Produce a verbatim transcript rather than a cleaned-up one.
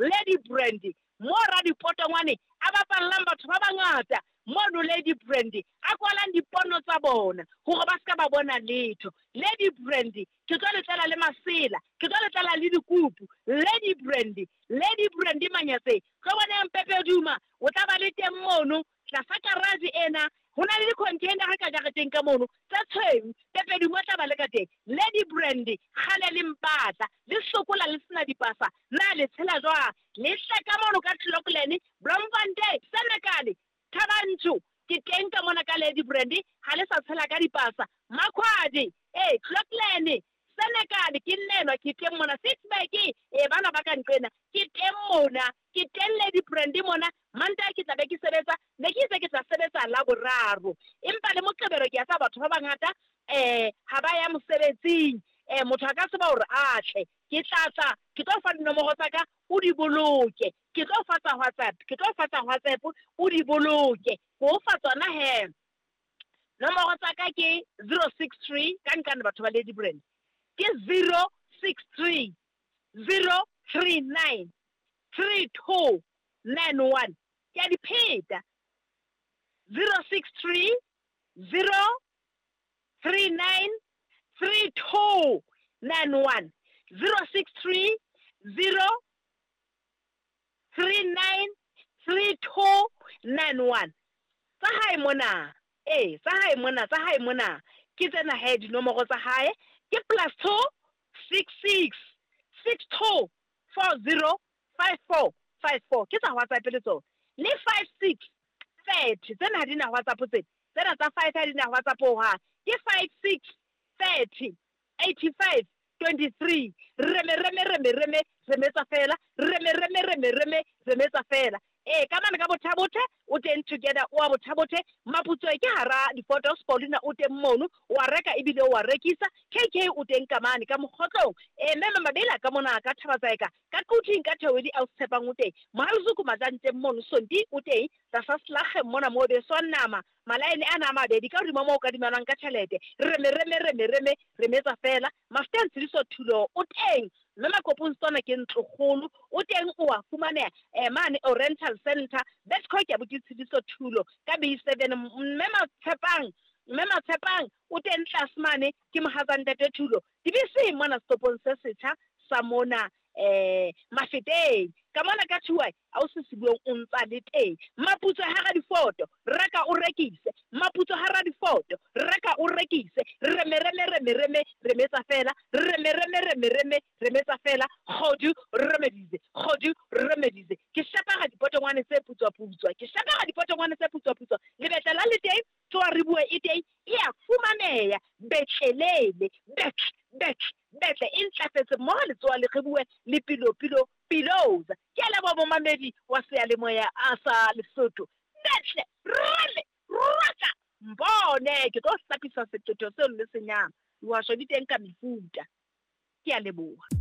Lady Brandy mo radipotongwane a bapallang batho ba bangata mono. Lady Brandy a kwalang dipono tsa bona hore ba ska ba bona letho. Lady Brandy ke tlo le tlela le masela, ke tlo le tlela le dikupu. Lady Brandy, Lady Brandy Manyatse, tlo boneng Pepe Duma o tla ba le teng mono tlasa garage ena. Ho na le di-container ka jareteng ka mono tse tshweu, Pepe Duma o tla ba le ka teng. Lady Brandy kgale le mpatla le sokola le sena dipasa, na le tshela jwang? Le hle ka mono ka Clocolan, Bloemfontein, Senekal, Thabanchu, ke teng ka mona ka Lady Brandy. Ha le sa tshela ka dipasa Makhwadi, ee Clocolan, Senekal, ke nnenwa ke teng mona. Ficksburg, ee bana ba ka nqena ke teng mona, ke teng Lady Brandy mona. Mantaha ke tla be ke sebetsa, ne ke itse ke tla sebetsa la boraro, empa le Moqebelo ke a tseba batho ba bangata um ha ba ya mosebetsing, um motho a ka tseba hore a tle. Ke tla tla ke tlo fa dinomoro tsa ka o di boloke, ke tlo fa tsa WhatsApp, ke tlo fa tsa WhatsApp o di boloke, ke o fa tsona he. Nomoro tsa ka ke zero six three, ka nkane batho ba Lady Brand, ke zero six three zero three nine three two nine one. Ke a di pheta, zero six three zero three nine three two nine one, zero six three zero three nine three two nine one. Tsa hae mona, ee tsa hae mona, tsa hae mona ke tsena he dinomoro tsa hae ke plus two six six six two four zero five four five four, ke tsa WhatsApp le tsona, le five six thirty. Tsena ha di na WhatsApp, tsena tsena tsa five ha di na WhatsApp hohang, ke five six thirty eighty five twenty three. Reme reme reme reme remetsa fela, reme reme reme reme remetsa fela. Ee ka mane ka Bothabothe o teng, Together o a Bothabothe, Maputsoe ke hara di-photos, Paulina o teng mono, o a reka ebile o a rekisa. K K o teng ka mane ka Mokgotlong, ee mme Mabela ka mona ka Thabatsaeka ka Quthing ka Thewedi a o tshepang o teng, Mohaluzuku Majanteng mono, Sonti o teng tlasa Slageng mona mo beswang nama malaene ana a mabedi ka hodimo moo o kadimanwang ka tjhelete. Reme reme reme reme remetsa fela. Mafteng Tshidiso Thulo o teng, mme Makopong Setswana ke ntlokgolo o teng, o a fumaneha um mane Oriental Center Betco ke abuti Tshidiso Thulo ka B seven. Mme Matshepang, mme Matshepang o teng tlase mane ke mohatsa ntate Thulo dibeseng mona setopong se setjha sa mona um Mafeteng ka mona ka Thuai a o se sebueng o ntsa le teng. Maputso hara difoto, reka o rekise, maputso hara difoto, reka o rekise. Reme reme reme reme remetsa fela, reme reme reme reme remetsa fela. Kgodu remedize, kgodu remedize. Ke shapara dipotongwane tse putswa-putswa, ke shapara dipotongwane tse putswa-putswa. Lebetla la le teng, tsoa re bue e teng, e a fumaneha betlelele, betle betle betle e ntlafetse mmoho le tsoa le re bue le pilo pilo piloza. Ke a leboha momamedi wa seyalemoya a sa Lesotho. Betle rele rata mbone, ke tlo hlapisa setoto seo le senyama. Dihwasho di teng ka mefuta. Ke a leboha.